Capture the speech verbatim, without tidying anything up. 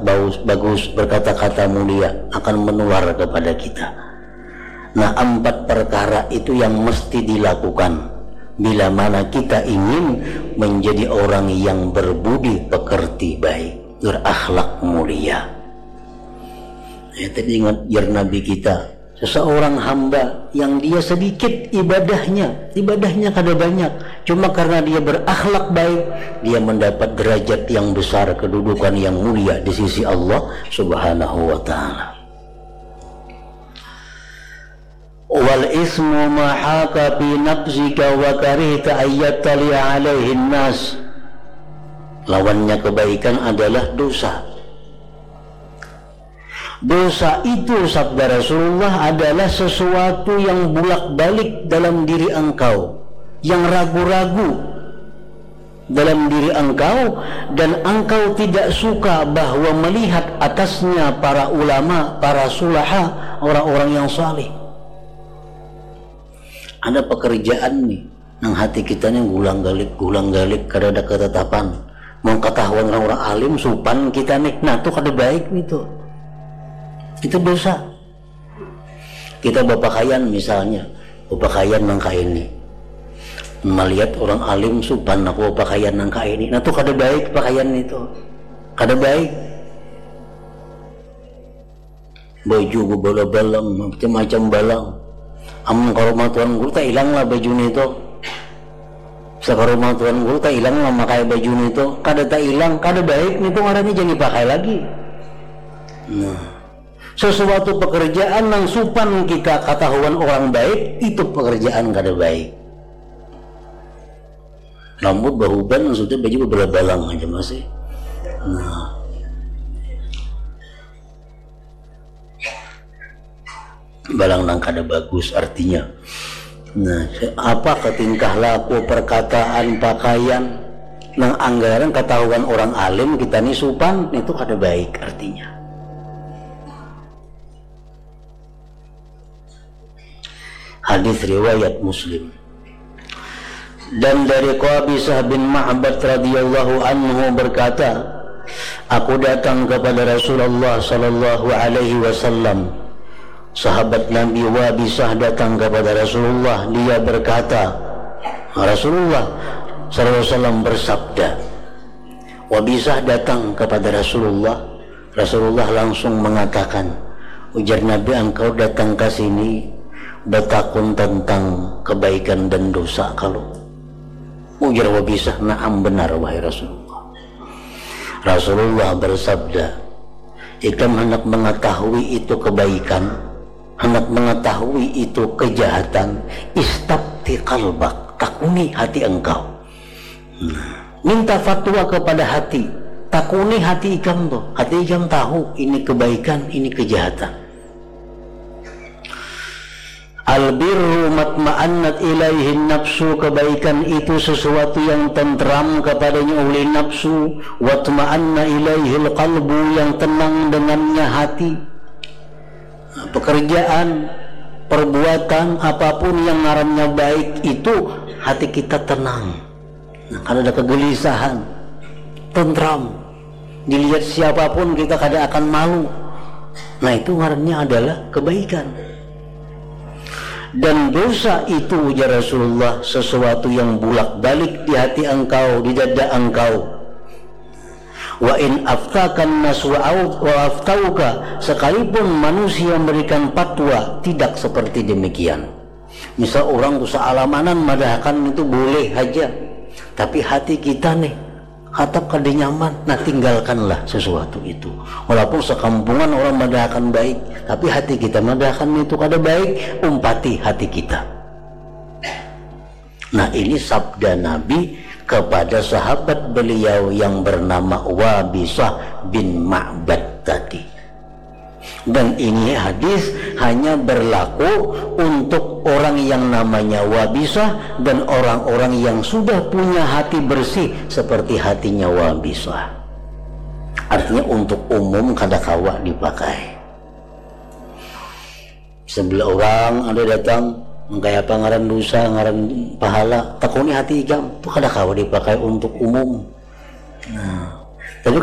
bagus, bagus, berkata-kata mulia akan menular kepada kita. Nah, empat perkara itu yang mesti dilakukan bila mana kita ingin menjadi orang yang berbudi pekerti baik, berakhlak mulia. Ya, tadi ingat jar Nabi kita, seseorang hamba yang dia sedikit ibadahnya, ibadahnya kada banyak, cuma karena dia berakhlak baik, dia mendapat derajat yang besar, kedudukan yang mulia di sisi Allah Subhanahu wa Ta'ala. Wal ismu ma haka fi nafsika wa karihta ayyattali alaihin nas. Lawannya kebaikan adalah dosa. Dosa itu, sabda Rasulullah, adalah sesuatu yang bulak-balik dalam diri engkau, yang ragu-ragu dalam diri engkau, dan engkau tidak suka bahwa melihat atasnya para ulama, para sulaha, orang-orang yang saleh. Ada pekerjaan nih, nang hati kita nih gulang galik, gulang galik, kada ada ketetapan. Mau ketahuan orang-orang alim, supan kita nih, nah, tuh kada baik nih tuh. Itu dosa. Kita berpakaian misalnya, berpakaian nang kaini. Melihat orang alim, supan aku berpakaian nang kaini. Nah, tuh kada baik pakaian itu. Kada baik. Baju bebala-balang, macam-macam balang. Amun ka rumah tuan guru, tak hilang lah baju itu. Sa ka rumah tuan guru, tak hilang lah makai baju itu. Kada tak hilang, kada baik itu, ngarannya jangan dipakai lagi. Nah, sesuatu pekerjaan nang supan kita ketahuan orang baik, itu pekerjaan kada baik. Rambut bahuban, maksudnya baju bebala-balang aja masih. Nah, balang nang kada bagus artinya. Nah, apa ke tingkah laku, perkataan, pakaian, nang anggaran ketahuan orang alim kita ni supan, itu kada baik artinya. Hadis riwayat Muslim. Dan dari Qabisah bin Ma'bad radhiyallahu anhu berkata, aku datang kepada Rasulullah sallallahu alaihi wasallam. Sahabat Nabi Wabisah datang kepada Rasulullah, dia berkata, Rasulullah sallallahu alaihi wasallam bersabda, Wabisah datang kepada Rasulullah, Rasulullah langsung mengatakan, ujar Nabi, engkau datang ke sini betakun tentang kebaikan dan dosa kalau? Ujar Wabisah, naam, benar, wahai Rasulullah. Rasulullah bersabda, ikam hendak mengetahui itu kebaikan, hendak mengetahui itu kejahatan, istafti qalbak, takuni hati engkau. Nah, minta fatwa kepada hati, takuni hati ikam tuh, hati ikam tahu ini kebaikan, ini kejahatan. Al birru matma'annat ilaihin nafsu, kebaikan itu sesuatu yang tentram kepadanya oleh nafsu, watma'anna ilaihil qalbu, yang tenang dengannya hati. Nah, pekerjaan, perbuatan, apapun yang ngarannya baik itu, hati kita tenang. Nah, kada ada kegelisahan, tentram. Dilihat siapapun kita kada akan malu. Nah, itu ngarannya adalah kebaikan. Dan dosa itu, ujar Rasulullah, sesuatu yang bulak-balik di hati engkau, di dada engkau. Wa in aftakan nas wa au-, wa aftauka, sekalipun manusia memberikan fatwa, tidak seperti demikian. Misal orang tu saalamanan madahakan itu boleh haja, tapi hati kita nih hatap kada nyaman, nah, tinggalkanlah sesuatu itu. Walaupun sekampungan orang madahakan baik, tapi hati kita madahakan itu kada baik, umpati hati kita. Nah, ini sabda Nabi kepada sahabat beliau yang bernama Wabisah bin Ma'bad tadi. Dan ini hadis hanya berlaku untuk orang yang namanya Wabisah dan orang-orang yang sudah punya hati bersih seperti hatinya Wabisah. Artinya, untuk umum kada kawa dipakai. Sebelah orang ada datang, mangkaya apa ngaran dosa, ngaran pahala, takuni hati ikam, tu kada kawa dipakai untuk umum. Nah,